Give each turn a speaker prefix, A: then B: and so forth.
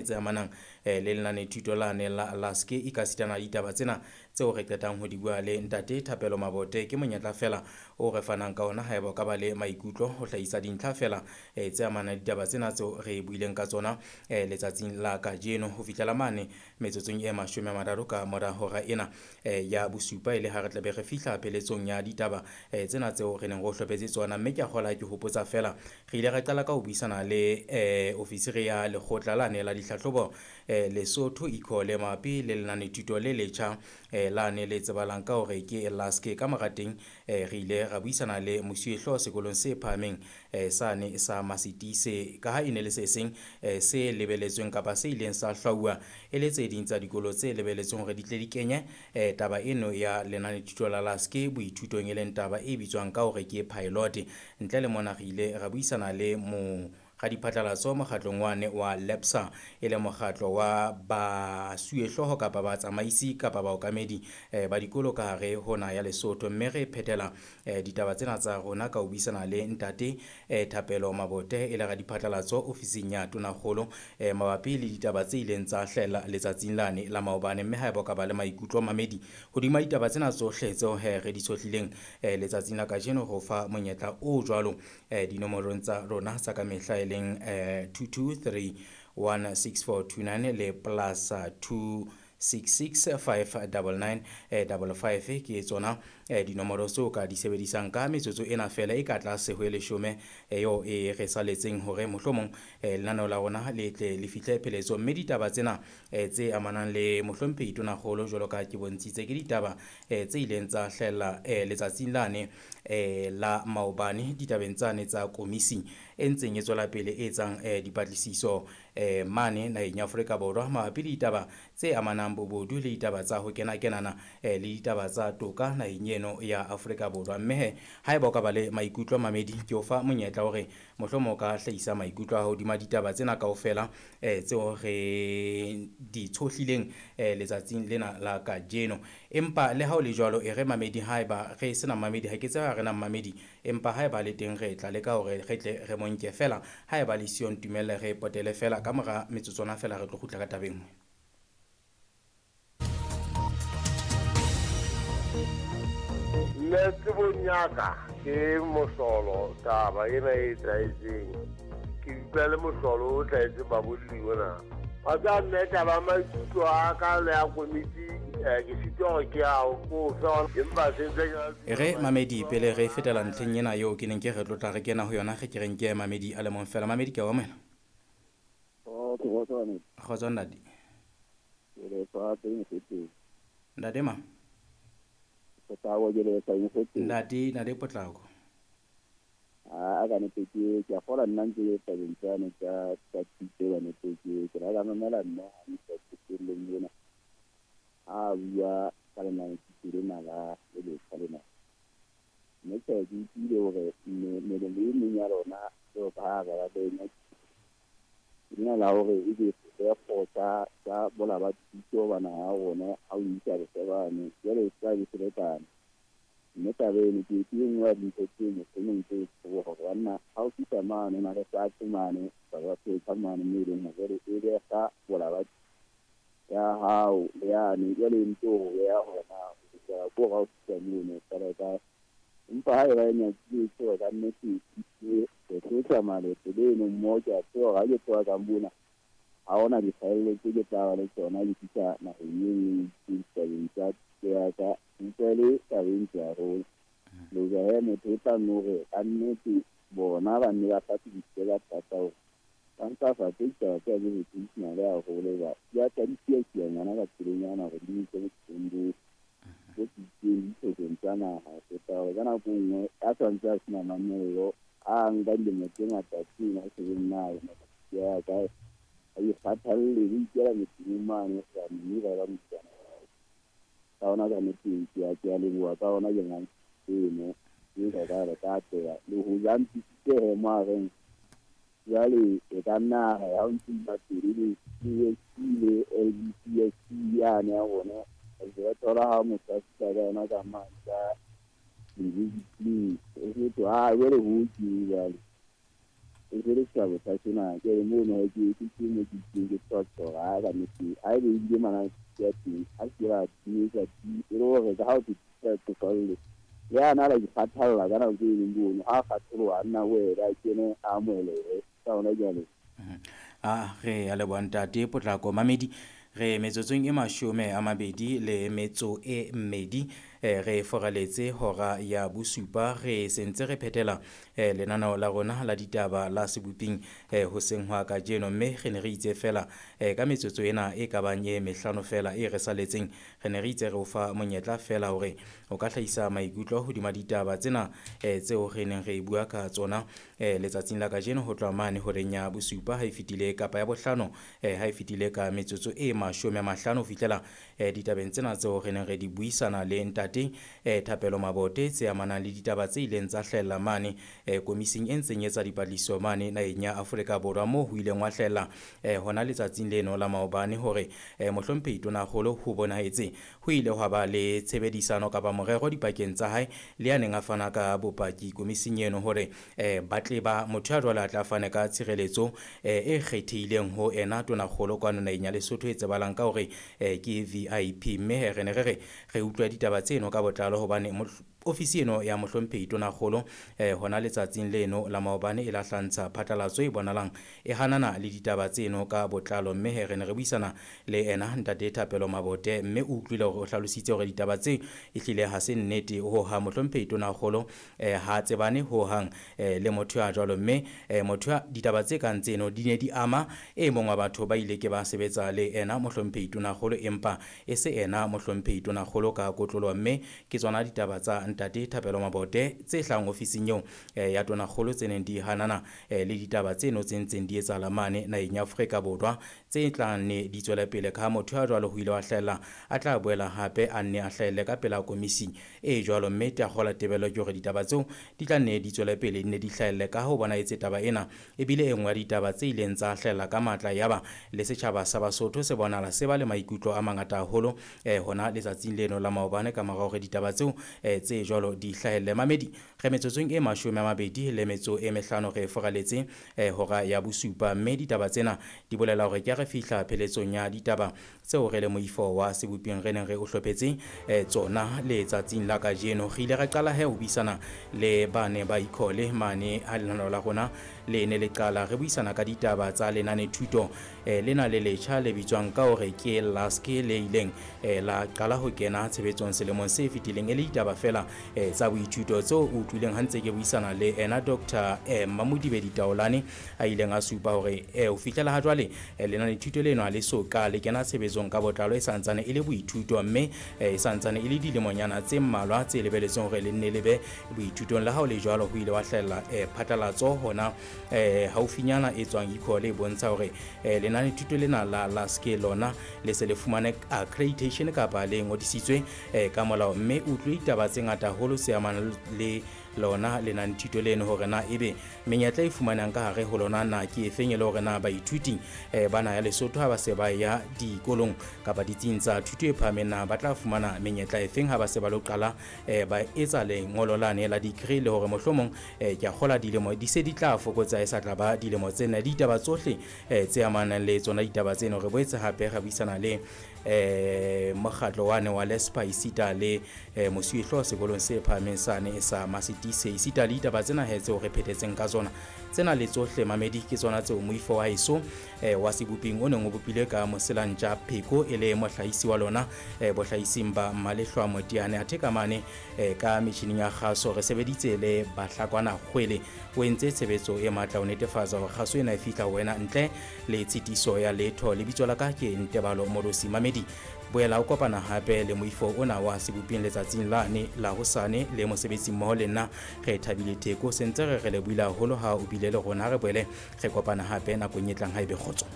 A: Tse amanang le lenanethuto lane la Laske ekasitana le ditaba tsena tseo re qetang ho di bua le ntate Thapelo Mabote. Ke monyetla feela o re fanang ka ona haeba o ka ba le maikutlo ho hlahisa dintlha feela tse amanang le ditaba tsena tseo re buileng ka tsona letsatsing la kajeno ho fihlela mane metsotsong e 30 ka mora hora ena ya bosupa, e le ha re tlabe re fihla pheletsong ya ditaba tsena tseo re neng re o hlophetse tsona. Mme ke a kgola ke hopotsa feela re ile ra qala ka ho buisana le ofisiri ya lekgotla lane la dihlahlobo Lesotho Ecole mabapi le lenanethuto le letjha lane le tsebahalang ka hore ke Laske. Ka mora teng re ile ra buisana le mosuwehlooho sekolong se phahameng sane sa Masitise, ka ha e ne le se seng se lebeletsweng kapa se ileng sa hlwauwa e le tse ding tsa dikolo tse lebeletsweng hore di tle di kenye taba eno ya lenanethuto la Laske boithutong, e leng taba e bitswang ka hore ke pilot. Ntle le mona re ile ra buisana le mo radiphatlalatso mokgatlong wane wa LEPSA, e le mokgatlo wa basuwehlooho kapa batsamaisi kapa baokamedi ba dikolo ka hare ho naha ya Lesotho. Mme re phethela ditaba tsena tsa rona ka ho buisana le ntate Thapelo Mabote, e le radiphatlalatso ofising ya Tonakgolo mabapi le ditaba tse ileng tsa hlahella letsatsing lane la maobane. Mme haeba o ka ba le maikutlo mamedi hodima ditaba tsena tsohle tseo re di tshohlileng letsatsing la kajeno, re o fa monyetla o jwalo dinomorong tsa rona tsa ka mehla, e leng 223 16429 le plus 266 599 55. Ke tsona dinomoro tseo ka di sebedisang ka metsotso ena feela e ka tlase ho e 10 eo e re saletseng hore mohlomong lenaneo la rona le tle le fihle pheletso. Mme ditaba tsena tse amanang le mohlomphehi Tonakgolo, jwalo ka ke bontshitse, ke ditaba tse ileng tsa hlahella letsatsing lane la maobane ditabeng tsane tsa komisi e ntseng e tswela pele e etsang dipatlisiso mane naheng ya Afrika Borwa mabapi le ditaba tse amanang bobodu le ditaba tsa ho kena-kenana le ditaba tsa toka naheng eno ya Afrika Borwa. Mme he haeba o ka ba le maikutlo mamedi, ke o fa monyetla hore mohlomong o ka hlahisa maikutlo a hodima ditaba tsena kaofela tseo re di tshohlileng letsatsing lena la kajeno. Empa le ha o le jwalo, e re mamedi, haeba re sena mamedi, ha ke tsebe ha re na mamedi, empa haeba le teng re tla leka hore re tle re monke feela. Haeba le siyo, ntumelle re potele feela ka mora metsotswana feela, re tlo kgutla ka taba e nngwe.
B: Nna tsebong ya ka ke mohlolo taba ena e etsahetseng. Ke utlwa le mohlolo o hlahetseng babolli ona. Wa tseba mme taba maikutlo a ka le ya komiti ke sitwa hore ke a ko fe, empa se ntse ke
A: E re mamedi, pele re fetela ntlheng ena eo ke neng ke re tlotla re kena ho yona, re ke re nke mamedi a le mong feela. Mamedi, ke a o amohela. Kgotso ntate. Ntate ma? Ntate, ntate Potlako.
C: A ka nete ke a kgolwa nna ntse ke tabeng tsane tsa thuto ka nete ke la ka mamela nna hantle qetellong ena. A bua ka lenanethuto lena la le letjha lena. Mme tjhe, ke utlwile hore melemo e meng ya lona jwalo ka ha re ba le lena la hore ebe sefefo tsa bola ba thuto ba naha ya rona ha o isa bosebane, jwale e tla be selekane. Mme taba eno ke e nngwe ya dintho tse mohlomong tse bohloko hore banna ha o fihla mane o na le fatshe mane ba fetsa mane moo e leng hore jwale e beha bola ba ya hao le yane, jwale e ntse ho beha hore na o lokela ke hore ha o fihla mono o qala kae. Empa ha eba e nyakile ke hore kannete re tlo tsamaya leeto leno mmoho, ke a tseba hore ha ke tloha ka mona ha hona dikgaello tse ke tla ba le tsona ke fihla naheng e nngwe ditabeng tsa thuto ya ka. Utlwa le taba e ntle haholo. Le hoja he motho o tla nno hore kannete bona ba nne ba hlahlobisise ka thata hore ba ntlafatse ditaba tsena tse vocational haholo hoba di a tla di siya-siya ngwana ka tselenyana hore di mo ise bophelong bo tsitsitseng ditlhokong tsa naha. Ho feta hore ka nako e nngwe a santse a sena mamello, a nka dilemo tse ngata tseno a shebeng na ya kae, a ikgathalle ho ikela motsemong mane hoba mme ba ba motsana. Ka hona ka nnete ke a leboha, ka hona ke nang eno e ka ka re ka atleha le ho ja ntisitse he mo a reng jwale e ka nna ha o ntse ba pele le CSC le LBCSC yane ya rona re thola ha motho a fihla ka yona ka mane ka university e fetwa, ha jwale ho ke jwale. E se le setjhaba sa sena ke re mono ke ke mo ke ke tsotso ga ka nnete a ebe ebile mana ya teng a se ba timetsa e le hore ka ha o tsofalle le ana la ikgathalla ka nako e leng bono ha kgatholoha a nna wela a kene a amohelehe ka hona jwale.
A: A re a leboha ntate Potlako. Mamedi, re metsotsong e 22 re foraletse hora ya 7. Re sentse re phethela lenaneo la rona la ditaba la seboping hoseng hwa kajeno, mme re ne re itse fela ka metsotso ena e ka bang e 5 fela e re saletseng, re ne re itse re o fa monyetla fela hore o ka hlahisa maikutlo hodima ditaba tsena tseo re neng re bua ka tsona letsatsing la kajeno ho tloha mane horeng ya 7 ha e fetile kapa ya 5 ha e fetile ka metsotso e 50 ho fihlela ditabeng tsena tseo re neng re di buisana le ntate Thapelo Mabote tse amanang le ditaba tse ileng tsa hlahella mane komising e ntseng etsa dipatlisiso mane naheng ya Afrika Borwa, moo ho ileng wa hlahella hona letsatsing leno la maobane hore mohlomphehi Tonakgolo ho bonahetse ho ile hwa ba le tshebedisano kapa morero dipakeng tsa hae le ya neng a fana ka bopaki komising eno hore ba tle ba motho ya jwalo a tla fane ka tshireletso e kgethehileng ho ena Tonakgolo kwano naheng ya Lesotho e tsebalang ka hore ke VIP. Mme re ne re re utlwa ditaba tseno ka botlalo hobane ofisi eno ya mohlomphehi Tonakgolo hona letsatsing leno la maobane e lahlantsha phatlalatso e bonalang e hanana le ditaba tseno ka botlalo. Mme re ne re buisana le ena ntate Thapelo Mabote, mme o utlwile hore o hlalositse hore ditaba tse ehlile ha se nnete ho ha mohlomphehi Tonakgolo ha tsebane ho hang le motho ya jwalo. Mme motho ya ditaba tse kang tseno di ne di ama e mong wa batho ba ile ke ba sebetsa le ena mohlomphehi Tonakgolo, empa e se ena mohlomphehi Tonakgolo ka kotlolo. Mme ke tsona ditaba tsa ntate Thapelo Mabote tse hlang ofising eo ya Tonakgolo tse neng di hanana le ditaba tseno tse ntseng di etsahala mane naheng ya Afrika Borwa tse tlang ne di tswela pele ka motho ya jwalo ho ile wa hlahella a tla boela hape a nne a hlahelle ka pela komisi e jwalo. Mme tagola tebello ke hore ditaba tseo di tla nne di tswele pele ne di hlahelle ka ho bona etse taba ena ebile e nngwe ya ditaba tse ileng tsa hlahella ka matla yaba le setjhaba sa Basotho se bonala se ba le maikutlo a mangata haholo hona letsatsing leno la maobane ka mora hore ditaba tseo tse jwalo di hlahelle. Mamedi, re metsotsong e 25 re foraletse hora ya 7, mme ditaba tsena di bolela hore ke re fihla pheletsong ya ditaba tseo re le moifo wa seboping re neng re o hlophetse tsona letsatsing la kajeno. Re ile ra qala he ho buisana le bane ba ikhole mane ha lenaneo la rona le ne le qala re buisana ka ditaba tsa lenane thuto lena le letjha le bitswang ka hore ke LASKE le ileng la qala ho kena tshebetsong selemong se fetileng, e le ditaba fela tsa boithuto tseo o utlwileng ha ntse ke buisana le ena Dr. Mamodibedi Taolane a ileng a supa hore ho fihlela ha jwale lenane thuto leno ha le so ka le kena tshebetsong ka botlalo, e santsane e le boithuto mme e santsane e le dilemonyana tse mmalwa tse lebeletseng hore le nne le be boithutong. Le ha o le jwalo ho ile wa hlahella phatlalatso hona haufinyana e tswang ikhole e bontsha hore lenane thuto lena la LASKE lona le se le fumane accreditation kapa le ngodisitswe ka molao. Mme utlwe ditaba tse ngata haholo se amanang le lona lenane thuto leno hore na ebe menyetla e fumanang ka hare ho lona na ke efeng, e le hore na baithuti bana ya Lesotho ha ba se ba ya dikolong kapa ditsing tsa thuto e phahameng na ba tla fumana menyetla efeng ha ba se ba lo qala ba etsa lengolo lane la degree, le hore mohlomong ke a kgola dilemo di se di tla fokotsa e sa tla ba dilemo tsena. Ditaba tsohle tse amanang le tsona ditaba tseno re boetse hape re buisana le mokgatlo wane wa Lespa esita le mosuwehlooho sekolong se phahameng sane sa Masitise esita le ditaba tsena he tseo re phethetseng ka tsona. Tsena le tsohle mamedi ke tsona tseo moifo wa heso wa seboping o neng o bopilwe ka Moselantja Pheko e le mohlahisi wa lona bohlahising ba Malehlwa Motiane athe ka mane ka metjhining ya kgaso re sebeditse le Bahlakwana Kgwele o entse tshebetso e matla ho netefatsa hore kgaso ena e fihla ho wena ntle le tshitiso ya letho. Lebitso la ka ke Ntebalo Morosi. Mamedi, boela o kopana hape le moifo ona wa seboping letsatsing lane la hosane le mosebetsi mmoho le nna re Thabile Theko. Sentse re re lebohile haholo ha o bile le rona. Re boele re kopana hape nakong e tlang ha ebe kgotso.